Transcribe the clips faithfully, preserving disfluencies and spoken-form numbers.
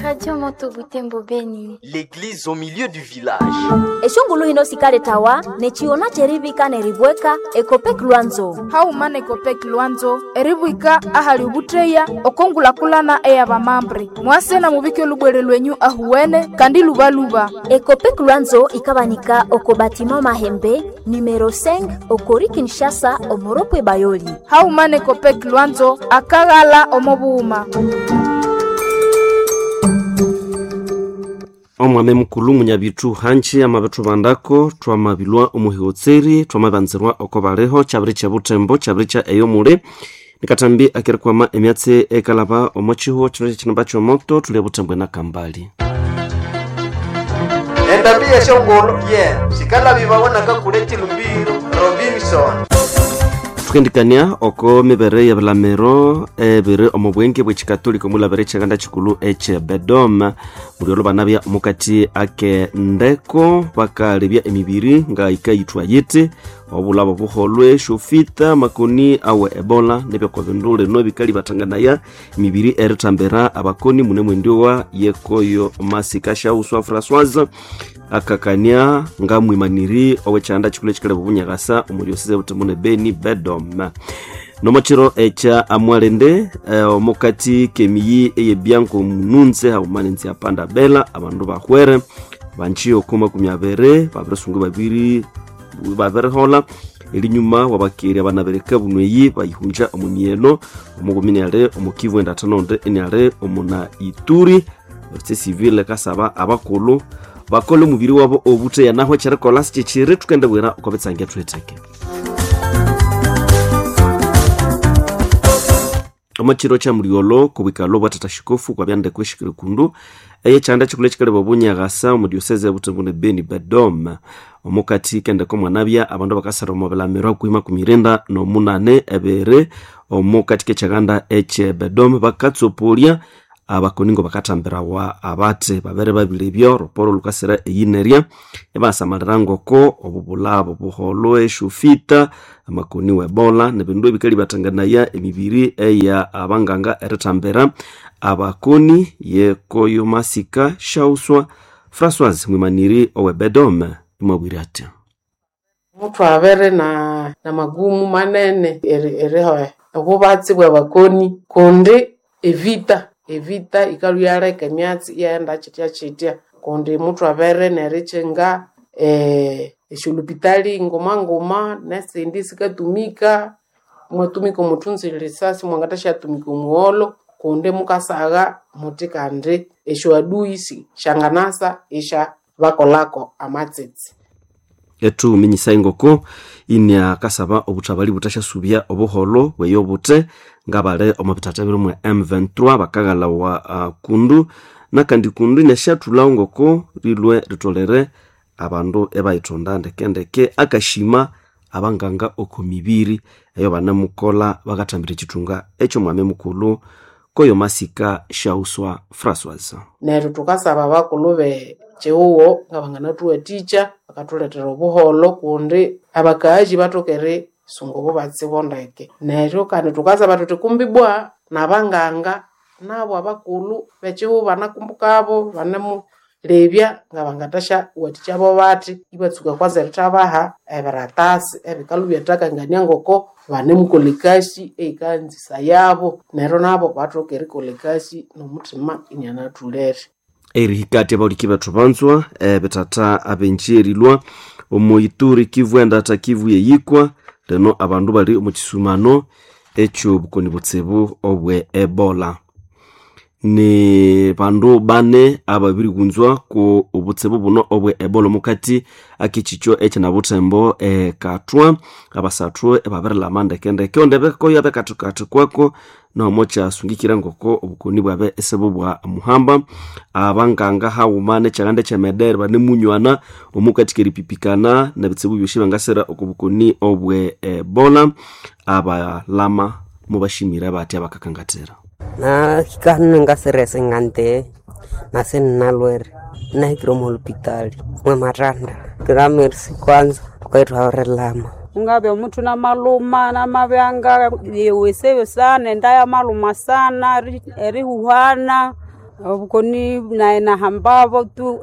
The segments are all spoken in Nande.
Radio Moto Butembo Beni. L'église au milieu du village. Eshongulu hino sikaletawa nechiona cherivika neribweka Ekopek Lwanzo. Hauma nekopek Lwanzo eribwika ahali ubutreya okongulakulana eyabamambre mwase na mubike lubwere lwenyu ahuwene kandi lubaluba. Ekopek Lwanzo ikabanika oko batima Mahembe numero cinq okori Kinshasa omoropwe Bayoli. Hauma nekopek Lwanzo akaghala omobuuma. Omwame mukulu munyabitu hanji amabethu bandako twamabilwa omuhigotseri twamabanzirwa oko baliho kyabiri kya butembo kyabiri kya eyomule nikatambi akirikwama emyatsi ekalaba omo chiho kino kyekinamba kyomoto tuli butembo enakambali. Endambi yeshongolo ye sikalabibawanaka kule chilumbiro Robinson. Tukendikania oko mibere yebilamiro ebiri omu bwenge bw'ekikatolika omulabere ekyaganda kikulu ekye Bedom mulyolo banabya omukati ake ndeko bakalebya emibiri nga ikayithwa yiti obulabo buholwe shofita makoni awe ebola nebyokwa bindu lino ebikali bathanganaya emibiri erithambira abakoni mune mwendiowa yekoyo masika shauswa Françoise akakania nga mwimaniri owekyanda kikulu ekikaleba obunyakasa omulyoseze butembo ne Beni Bedom nomokiro ekya amwalende eh, omukati kemiyi eyebyanko mununze haumana apanda bela abandu bahwere banji oko makumi abere babirisungu babiri babirihola elinyuma wabakeri abanabereka bunweyi bayihunja omu myeno omukumi niale omukivu endathanonde eniale omuna Ituri ofisi civile kasaba abakulhu bakole omubiri wabo obutheya naho ekyerikolha sikyekiri thukendibwira oko bitsange thuhitheke. Omukiro kya mulyolo kobwikalo bwa tata shikofu kwabyandeko eshikiri kundu eyekyanda kikulu ekikaleba obunyakasa omu diocese ya ne Beni Bedom omukati kendeko mwanabya abandu bakasara omu bilamiro hakuhi makumi irinda nomunane ebiri omukati kekyaganda ekye Bedom bakatsopolya abakoningo bakathambirawa abati babere babilebyo roporo lukasira eyinerya ebasamalira ngoko obubulabo buholwe eshufita amakoni webola nebindu ebikali bathanganaya emibiri eya abanganga erithambira abakoni yekoyo masika shauswa Françoise mwimaniri owe Bedom imwabwire ati muthu abere na, na magumu manene erihoya obubatsi bwa bakoni kundi evita evita ikalwa yaleka emyatsi iyaghenda kyitya kyitya kundi muthu abere nerichinga eh, esyolupitali nguma nguma nesindi sikatumika mwatumika omuthunzi lisasi mwangathasyatumuka omugholo kundi mukasagha muthi kandi esyoaduyi syanganasa isya bakolako amatsitsi. Ethuminyisa engoko inia kasaba obuthabali buthasyasubya obuholho bweyo buthe ngabali omo bithatha biri mwe M twenty-three bakaghalawa uh, kundu nakandi kundu inasyathulhawo ngoko rilwe ritholere abandu ebayithonda ndekendeke akashima abanganga oko mibiri eyo banemukolha bakathambira ekithunga ekyomwami mukulhu koyo masika shauswa Françoise. Neryo thukasaba abakulhu be kyihugho ngabanganathuwathikya bakathulethera obuholho kundi abakaazi bathoka erisunga obubatsi bondeke. Neryo kandi thukasaba thuthi kumbi bwa nabanganga nabo abakulhu bekyihugho banakumbukabo banemulebya ngabangathasyawathikya bathi ibatsuka kwanza erithabaha ebiratasi ebikalhu byathakangania ngoko banemukolha ekasi eyikanzisa yabo neryo nabo bathoka erikolha ekasi nomuthima inianathulere. Erihikati abauliki bethu banzwa ebithatha abenji erilwa omu Ituri Kivu endatha Kivu yeyikwa lino abandu bali omu kisumano ekyobukoni butsibu obwe Ebola. Ni bandu bane ababirigunzwa ku obutsibu buno obwe Ebola omukati akekikyo ekyinabuthembo ekathwa abasathu ebabirilama ndekendeke onde bekoyo abekathikathi kwako nomo kyasungikira ngoko obukoni bwabe esibu bwa muhamba abanganga haghuma nekyaganda ekyemedere banemunywana omukati keripipikana nebitsibu byosi bangasira oko bukoni obwe Ebola abalama mubashimire bathi abakakangathira. Na hikano ngasirese ngante nase nnalwere nahikire omu holupitali mwe matanda kiramerisi kwanza tukaithwawerelama ungabya omuthu namaluma namabyanga yeweseyo sana enda yamaluma sana erihuhana Obukoni naye nahambabo tu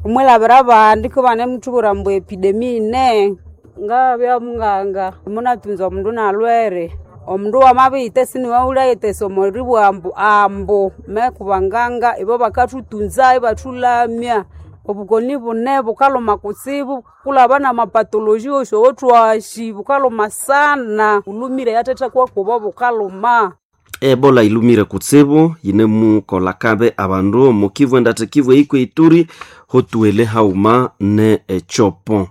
omwilabira abandi kubane muthubwira ambu epidemi ine ngabya munganga munatunza omundu nalwere omundu wamabiyitha siniwaghulhayithesa omoribugha ambu ambu mekubanganga ibo bakathutunza ibathulamya. Obukoni bune bukalhuma kutsibu kulaba namapatology wosi owothwashi bukalhuma sana bulhumire yathethakwa kubo bukalhuma. Ebola ilumire kutsibu yinemukola kabe abandu mukivu endata Kivu eikwe Ituri hotuwele hauma ne echopo.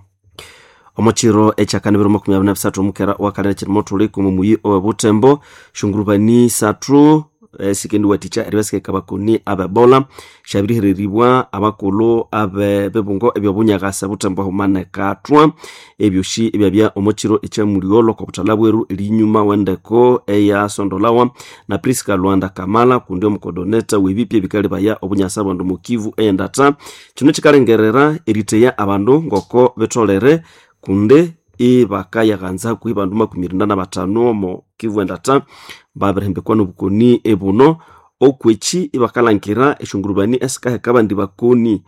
Omochiro echakani biro makumi abiri na bisathu omukera wakalere chirimo thuliku mumuyi owe Butembo shungurubani sathu esikendi waticha eribasika bakoni abebola shabirihereribwa abakulhu abe bebungo ebyobunyagasa Butembo hauma katwa ebyoshi ebyabya omochiro echamuliolo kwa buthala bweru erinyuma wendeko eya sondolawa na Priska Lwanda Kamala kundi omukodoneta webipya ebikalibaya obunyasa bwandu mukivu eyendata kino kikalengerera eriteya abandu ngoko betolere kunde ibakayaghanza kuhi bandu makumi irinda na batano omo Kivu endata babirihembekwa nobukoni ebuno okweki ibakalhangira eshungurubani esikaheka abandi bakoni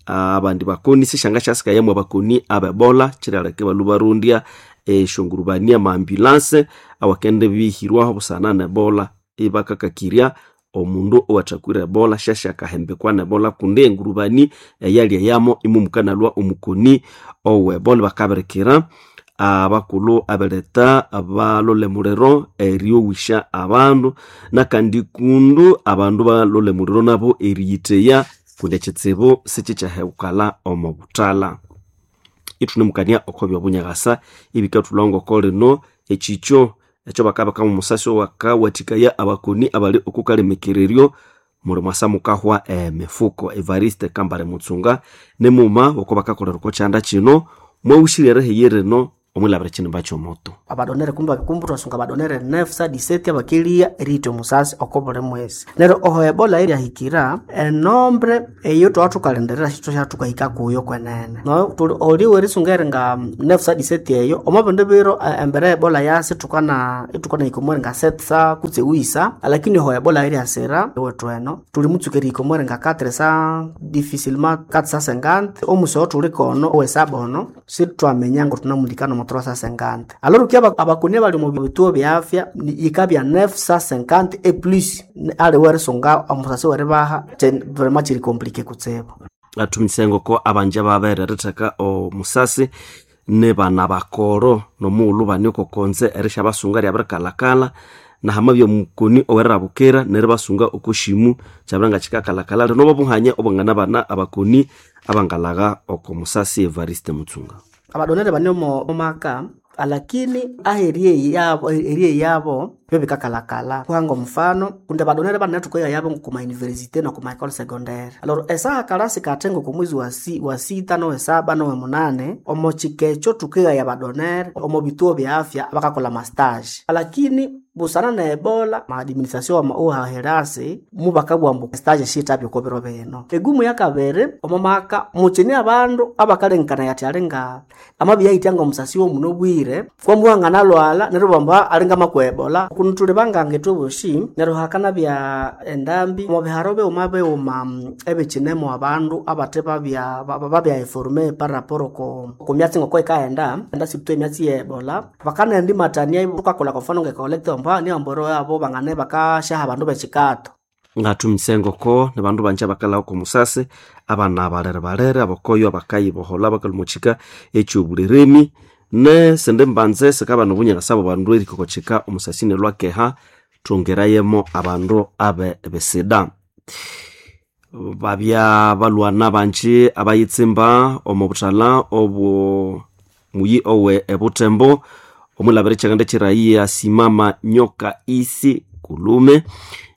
abandi bakoni sishanga syasikayamwa abakoni abebola kiryaleka ibalhwa barondya eshungurubani amaambulanse awakende bihirwaho busana nebola ibakakakirya omundu owathakwire ebola syasyakahembekwa nebola kundi engurubani eyalya yamo imumukanalwa omukoni owebola bakabirikira abakulhu abeletha balole muliro eryowisha abandu nakandi kundu abandu balole muliro nabo eriyitheya kundi ekitsibu sikikyahewukalha omo buthalha. Ithunemukania oko byobunyakasa ibikathulha ngoko lino ekikyo ekyo bakabikamu omusasi owakawathikaya abakoni abali okukalemekereryo muli mwasa mukahwa emifuko. Evariste Kambale Mutsunga nemuma oko bakakolera oko kyanda kino mwawushire erihiyi rino omwilabira ekinimba kyomoto. Abadonere kumba kumbu twasunga abadonere nef sa diseti abakelia eriyitha omusasi oko buli mwesi. Neryo oho ebola eryahikira enombre eyo twathukalindirira syithukahika kuyo kwenene. No tuli oli werisunga eringa nef sa diseti eyo omo bindu biro embere ya ebola yasi thukana ithukana hika omweringa setsa kutse wisa lakini oho ebola eryasira ewethu eno tuli mutsuka erihika omweringa quatre sa difficilement quatre sa cinquante omusi owo thuli kono owesaba ono sithwaminya ngo thunamulikana omo trois cent cinquante. Alors ki abakoni abali omu bituo bya afya yikabya neuf cent cinquante et plus ali werisunga omusasi weribaha vraiment kiri compliqué kutsibu. Athumise ngoko abanja babere eritheka omusasi ne bana bakoro nomughulhu bane okokonze erisyabasunga ryabirikalhakalha nahamabya omukoni owerirabukira neribasunga okoshimu kyabira ngakikakalhakalha lino bobuhanya obwanganabana abakoni abangalagha oko musasi. Evariste Mutsunga abadonere bane omo maka alakini aheri yabo eri yabo byo bikakalakala kuhanga omufano kundi abadonere bane thukoya yabo kuma university no kuma école secondaire. Alors esaha kalasi katengo kumwizi wa si, wa sita no saba no munane omo chikecho tukeya ya badonere omo bituo bya afya bakakola mastage alakini busana na ebola maadministration ohaherasi mubakabwambu stage shita byokobero beno egumu yakabere omo maka muchini abandu abakalenkana yati alinga amabiyayityanga omusasi womuno bwire kwamuhanga nalwala neryo bamba alinga makwa ebola kuno tuli bangange twoboshi neryo hakana bya endambi omo biharo beuma beuma ebichinemo abandu abate babya babya informe par rapport ko kumyatsi ngoko ikaenda enda sibutwe emyatsi ya ebola bakana ndi matania tukakola kwa mfano ngekolekta mba ni amboro yabo bangane bakashaha abandu bekikato ngathumise ngoko nibandu banje abakalhaho oko musasi abana balere balere abakoyo abakayiboholha bakalhwa omukika ekyobuliremi nesindi mbanze sikabana obunyakasa bwa bandu erikokokyika omusasi nelwakeha thongerayemo abandu abe besida. Babya balwana banji abayitsimba omu buthalha obwo muyi owe ebutembo omwilabira ekyakanda kyirayiya simama nyoka isi kulume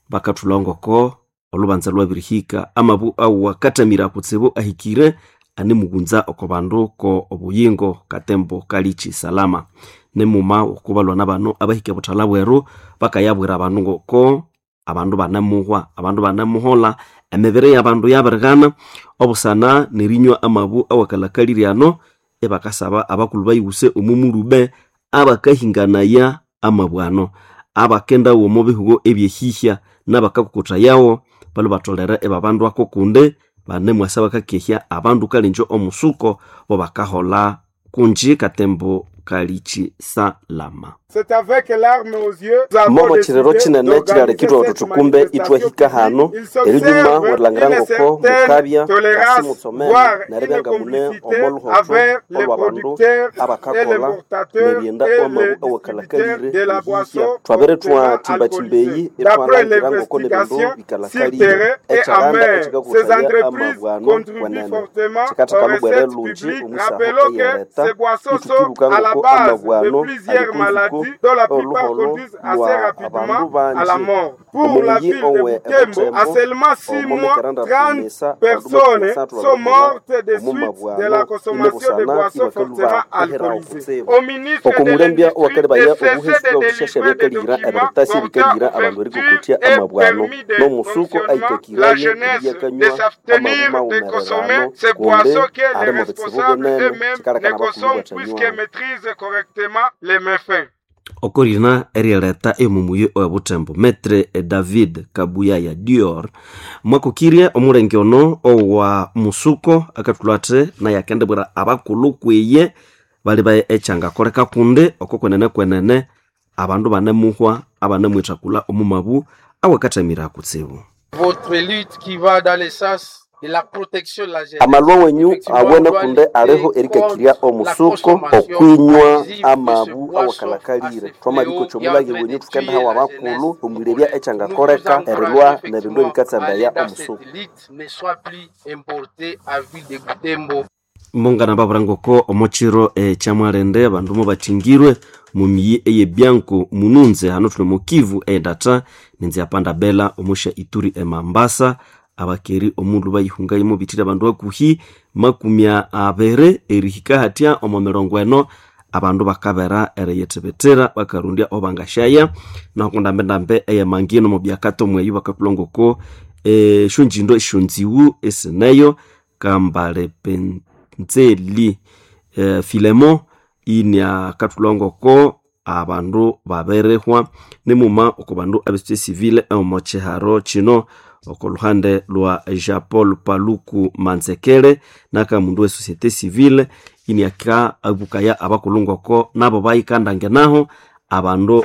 bakathulha ngoko olubanza lwabirihika amabu awakatamira kutsibu ahikire anemughunza oko bandu ko obuyingo katembo kalichi salama nemuma okubalwana bano abahika buthalha bweru bakayabwira abandu ngoko abandu banamuhwa abandu banamuhola emibiri yabandu yabirighana obusana nerinywa amabu awakalhakalirye ebakasaba abakulhu bayighuse omumulube abakahinganaya amabu ano abakendawo omo bihugo ebyehihya nabakakokothayawo balu batolere ebabandwako kundi banemwasa bakakehya abandu kalinjo omusuko bo bakahola kunji katembo kalichi salama. Momo chirero chinene chilalekitwa utu tukumbe itwahika hano erinyuma werilhangira ngoko mukabya asimutsomene neribya mune omoluhotho olwa bandu abakakola nerienda omabu awakalakalire ehihya twabere twathimbathimba eyi itwalangira ngoko nebindu bikalakalire ekyalanda ekikakusaya amabwano wenene kikatheka lubwere lungi omusaho eyereta itukibuka ngoko amabwano ali kunzuko oluholo lwa abandu bangi omuyi owe ebutembo omomekeranda tumisa bandu omumabwano inebusana ibakaluba eherawo kutsibu okumulembya owakalebaya obuhesi bwabushasha byakalira ebiritasi ebikalira abandu erikokotya amabwano n'omusuko aikakiraye eriyakanywa amabu mawumererano kundi ali mu bitsibu binene kikalekana abakulu bwathanywawo. Okorina erieleta emumuye owebutembo metre David Kabuyaya Dior mwakukirye omulenge ono owa musuko akathulwa athi naye akendibwira abakulhu kwiye bali baye ekyangakoleka kundi oko kwenene kwenene abandu banemuhwa abanemwithakula omumabu awakathamira kutsibu. Votre lutte qui va dans le sens de la protection de la jeunesse. Amalwa wenyu awene kunde aliho erikakirya omusuko okwinywa amabu awakalakalire twamalikocha omulage wenyu thukendahawa abakulhu omwirebya ekyangakoleka erilwa nebindu ebikatsandaya omusuko. Ne soit plus importé à ville de Butembo. Mongana babura ngoko omochiro ekyamwalende abandu mubathingirwe mumiyi eyebyanko mununze hano thuli mukivu endata ninzi yapanda bela omusha ituri emambasa abakeri omundu bayihungayo bithire abandu akuhi makumi abere erihika hatya omo mirongo eno abandu bakabera eriyithibitira bakarundya obangashaya naho ndambendambe eyemangino mubyakato mweyu bakakulongoko eshonjindo eshonziwu esineyo kambale penzeli e, Filemo inia katulongoko abandu baberehwa nimuma oko bandu abesite civile omo chiharo chino oko luhande lwa Jean Paul Paluku Manzekele naka mundu we societe civile iniaka abukaya abakulungoko nabo bayikandange naho abandu